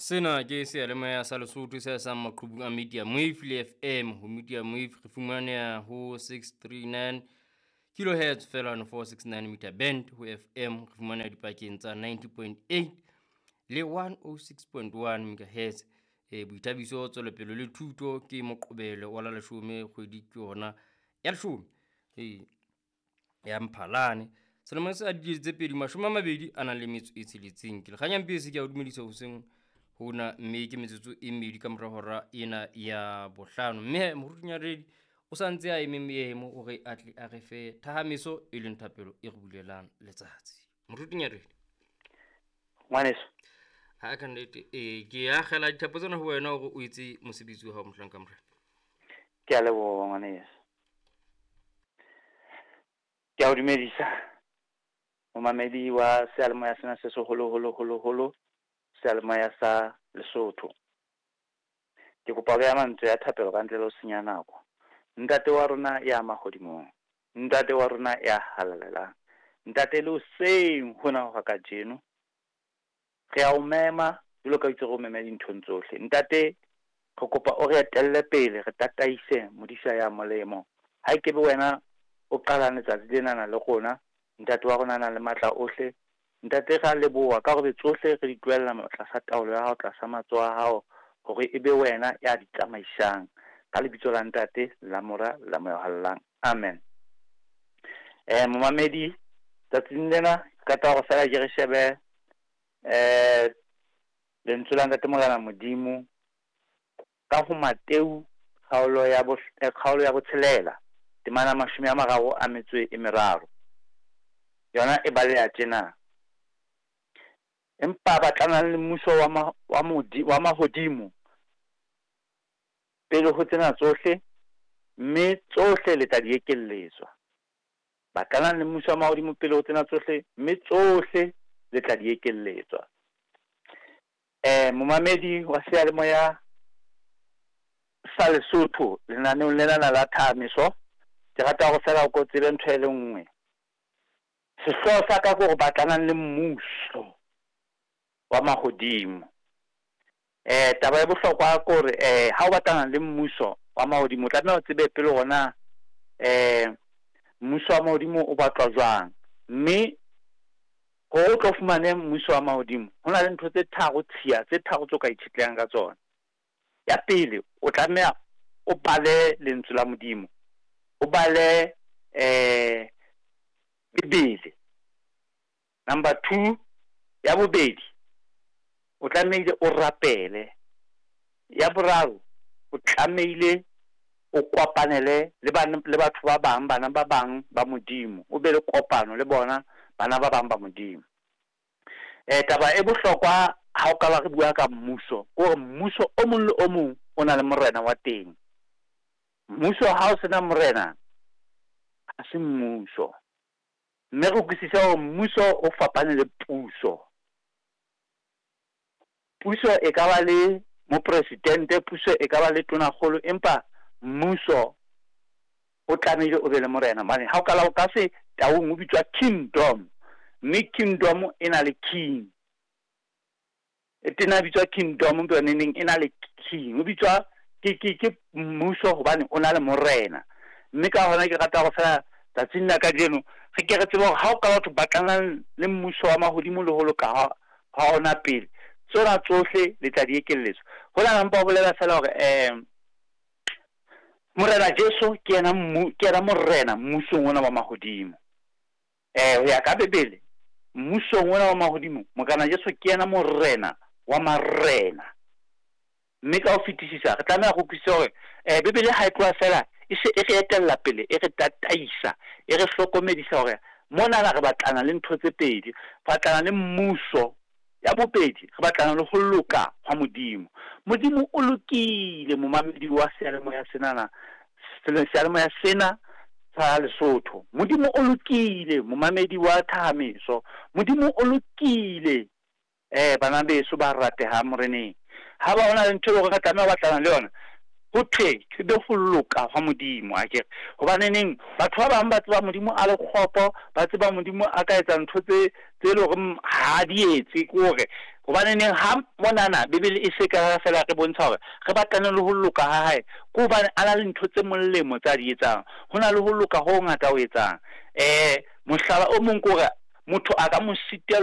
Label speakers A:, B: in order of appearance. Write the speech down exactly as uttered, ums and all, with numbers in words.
A: Sena ke seyalemoya sa Lesotho se sang maqhubung a Media Wave le F M. Ho Media Wave re fumaneha ho six three nine kilohertz feela no four six nine meter band. Ho F M re fumaneha dipakeng tsa ninety point eight le one oh six point one megahertz. E, boithabiso, tswelopele le thuto ke Moqebelo wa la leshome kgwedi ke yona ya leshome. E, ya Mphalane. Selemo sa dikete tse pedi mashome a mabedi a nang le metso e tsheletseng. Ke Lekganya Mpesi, ke a o dumedisa hoseng hona, mme ke metsotso e mmedi ka mora hora ena ya bohlano. Mme Moruti Nyaredi o sa ntse a eme meemo hore a tle a re fe thahamiso e leng thapelo e re bulelang letsatsi. Moruti Nyaredi.
B: Ngwaneso.
A: Ha ka nnete, eh, ke akgela dithapo tsena ho wena hore o etse mosebetsi wa hao mohlanka Morena.
B: Ke a leboha ngwaneso. Ke a o dumedisa momamedi wa seyalemoya sena se seholo holo holo holo, seyalemoya sa Lesotho. Ke kopa ho beha mantswe a thapelo ka ntle le ho senya nako. Ntate wa rona ya mahodimong, ntate wa rona ya halalelang, ntate le hoseng hona hora kajeno, re a o mema jwalo ka itse re o meme dinthong tsohle. Ntate, re kopa o re etelle pele, re tataise modisa ya molemo. Ha e ke be wena o qalang letsatsi lenana le rona, ntate wa rona a nang le matla ohle. Ntate, re a leboha ka hore tsohle re di tlohella tlasa taolo ya hao, tlasa matsoho a hao, hore e be wena ya di tsamaisang. Ka lebitso la Ntate, la Mora, la Moya o Halalelang. Amen. Eh, momamedi, tsatsing lena ke rata hore feela ke re shebe, eh, lentswe la Ntate Morena Modimo ka ho Mateu kgaolo ya bo, eh, kgaolo ya botshelela, temana mashome a mararo a metso e meraro. Yona e baleha tjena. Empa ba tlanang le mmuso wa ma-, wa modi-, wa mahodimo pele ho tsena tsohle, mme tsohle le tla di ekelletswa. Ba tlanang le mmuso wa mahodimo pele ho tsena tsohle, mme tsohle le tla di ekelletswa. Eh, momamedi wa seyalemoya sa Lesotho lenaneong lena la thahamiso, ke rata hore feela o ko tsebe ntho e le nngwe. Sehlooho sa ka ke hore batlanang le mmuso wa mahodimo. Eh, taba e bohlokwa ke hore, eh, ha o batlana le mmuso wa mahodimo, o tlameha o tsebe pele hore na, eh, mmuso wa mahodimo o batlwa jwang. Mme hore o tlo fumane mmuso wa mahodimo, ho na le ntho tse tharo tshiya, tse tharo tse o ka itshetlehang ka tsona. Ya pele, o tlameha o bale lentswe la Modimo, o bale, eh, Bibele. Number two, ya bobedi, o tlamehile o rapele. Ya boraro, o tlamehile o kopanele le bana, le batho ba bang, bana ba bang ba Modimo, o be le kopano le bona bana ba bang ba Modimo. Eh, taba e bohlokwa ha o ka ba re bua ka mmuso, ke hore mmuso o mong le o mong o na le morena wa teng. Mmuso ha o sena morena, ha se mmuso. Mme re utlwisise hore mmuso o fapane le puso. Puso e ka ba le mopresidente, puso e ka ba le tonakgolo, empa mmuso o tlamehile o be le morena. Hobane ha o ka la o ka se taung o bitswa kingdom, mme kingdom e na le king. E tena bitswa kingdom, empa yona neng e na le king. O bitswa ke, ke, ke mmuso hobane o na le morena. Mme ka hona ke rata hore feela tsatsing la kajeno re ke re tsebe hore ha o ka batho ba tlanang le mmuso wa mahodimo le ho loka ha, ha ona pele, tsona tsohle le tla di ekelletswa. Ho na mpa o bolela feela hore, eh, Morena Jesu ke yena mmu-, ke yena morena mmusong ona wa mahodimo. Eh, ho ya ka Bibele, mmusong ona wa mahodimo, Morena Jesu ke yena morena wa marena. Mme ka ho fetisisa re tlameha ho utlwisisa hore, eh, Bibele ha e tloha feela e se e re etella pele, e re tataisa, e re hlokomedisa hore monana re batlana le ntho tse pedi, re batlana le mmuso. Ya bobedi, re batlana le ho loka hwa Modimo. Modimo o lokile, momamedi wa seyalemoya senana, seyalemoya sena sa Lesotho. Modimo o lokile, momamedi wa thahamiso. Modimo o lokile, eh, bana beso ba ratehang moreneng. Ha ba hona le ntho e leng hore re tlameha ho batlana le yona, ho thwe ke be ho loka hwa Modimo, akere. Hobane neng batho ba bang ba tseba Modimo a le kgopo, ba tseba Modimo a ka etsa ntho tse, tse leng hore ha di etse, ke hore Hobaneneng ha monana Bibele e se ka fela re bontsha hore re batlane le ho loka ha hae, ke hobane a na le ntho tse molemo tsa di etsang. Ho na le ho loka ho ngata ho etsang. Eh mohlala o mong ke hore motho a ka mo sitelwa.